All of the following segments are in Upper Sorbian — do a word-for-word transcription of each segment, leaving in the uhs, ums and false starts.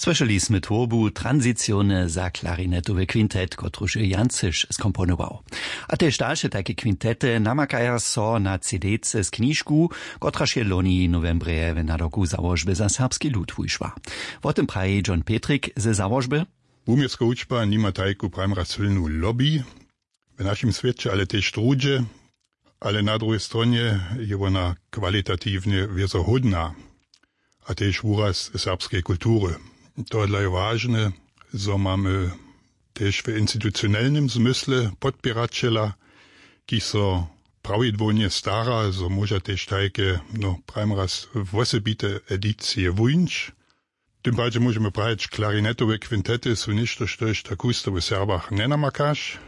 Słyšeli smy twórbu transiciony za klarinetowy kwintet, kotruž je Jan Cyš skomponował. A tež dalše tajke kwintety namakaja so na cdc z knižku, kotraž je loni nowembrje w nadawku załožby za serbski lud wušła. Wo tym praji John Petrik ze załožby. Wuměłska wučba nima tajku prajmra sylnu lobby w našim swěće, ale tež druhdźe, ale na druhej stronje je wona kwalitatiwnje wězohódna a tež wuraz serbskeje kultury. Tohodla je wažne, zo mamy tež w institucionelnym zmysle podpěraćela, kiž so prawidłownje stara, zo móža tež tajke, no prajmraz, wosebite edicije wuńć. W tym padźe móžemy prajić, klarinetowe kwintety su něšto, štož tak husto w Serbach njenamakaš.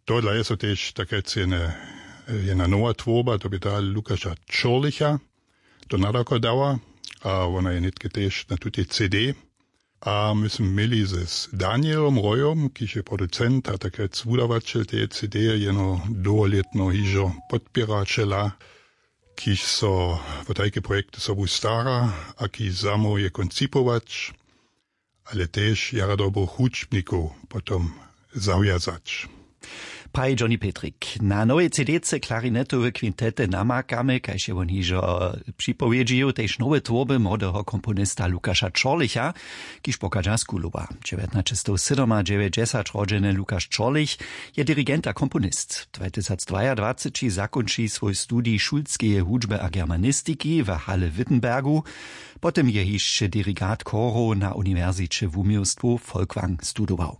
Tohodla je so tež tak rjec jedna nowa twórba, to bě ta Lukaša Čorlicha, do nadawka dała, a wona je nětke tež na tutej cd. A my smy měli z danielom rojom, kiž je producent a tak rjec wudawaćel teje cd, jeno dołholětno hižo podpěraćela, kiž so wo tajke projekty sobu stara a kiž zamołwje koncipować, ale tež jara dobrych hudźbnikow potom zawjazać. Praji Johnny Petrik. Na nowej cdce klarinetowe kwintety namakamy, kaž je won hižo připowědźił, tež nowe twórby młodeho komponista Lukaša Čorlicha, kiž pochadźa z Kulowa. Dźewjatnaćestowsydomadźewjećdźesat rodźeny Lukaš Čorlich je dirigent a komponist. Dwatysacdwajadwaceći zakónči swój studij šulskeje hudźby a germanistiki w Halle-Wittenbergu. Potom je hišće dirigat chorow na uniwersiće wuměłstwow Folkwang studował.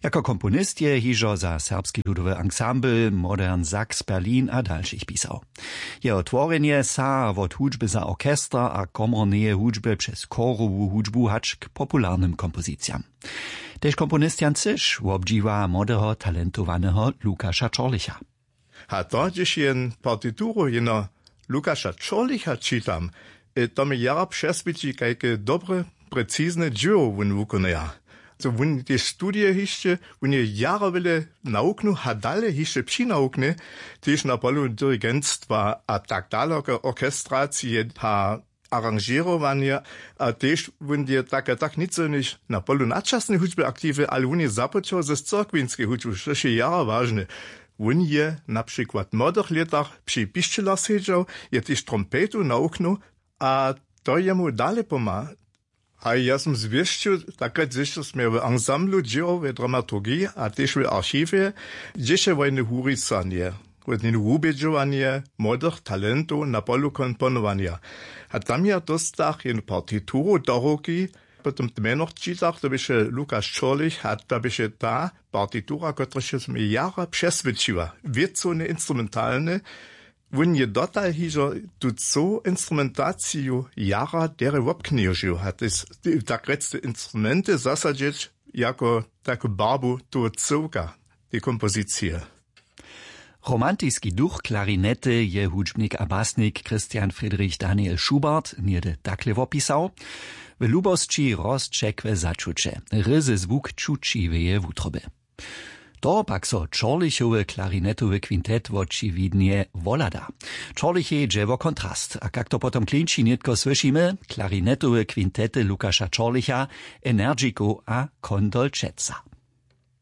Jako komponist je hižo za serbski ludowy ansambl Modern Sax Berlin a dalšich pisał. Jeho tworjenje saha wot hudźby za orchester a komorneje hudźby přez chorowu hudźbu hač k popularnym kompozicijam. Tež komponist Jan Cyš wobdźiwa młodeho talentowaneho Lukaša Čorlicha. A to, hdźež jen partituru jeno Lukaša Čorlicha čitam, e, to mi jara přeswědči, kajke dobre, precizne dźěło wón wukonaja. To wón tež studije hišće, wón je jara wjele nawuknył a dale hišće přinawuknje, tež na polu dirigentstwa a tak daloko, orchestracije a aranžěrowanja. A tež wón je tak a tak nic jenož na polu nadčasnej hudźby aktiwy, ale wón je započał z cyrkwinskej hudźbu, štož je jara wažne. Wón je na přikład w młodych lětach při pišćelach sedźał, je tež trompetu nawuknył, a to jemu dale pomha. A ja sym zwěsćił, takle hdźež smy w ansamblu dźěłał, w dramaturgiji a tež w archiwje, hdźež je wojny wurisanje, wódninu wubědźowanje młodych talentow na polu komponowanja. A tam ja dóstach jednu partituru do ruki, potom w mjenach čitach, to běše Lukaš Čorlich, a to běše ta partitura, kotraž je so mi jara přeswědčiła, wěcowne, instrumentalne. Wón je dotal hižo tu cyłu instrumentaciju jara derje wobknježił a te s-, te, tak rjec, te instrumenty zasadźeć jako taku barbu toho cyłka, tej kompozicije. Romantiski duch klarinety je hudźbnik a basnik Christian Friedrich Daniel Schubert něhdy takle wopisał: „W lubosći rozćekłe začuće, ryzy zwuk čući w jeje wutrobje.“ To pak so Čorlichowy klarinetowy kwintet wočiwidnje wohlada. Čorlichej dźe wo kontrast, a kak to potom klinči, nětko słyšimy: klarinetowe kwintety Lukaša Čorlicha, Energikow a Kondolčeca.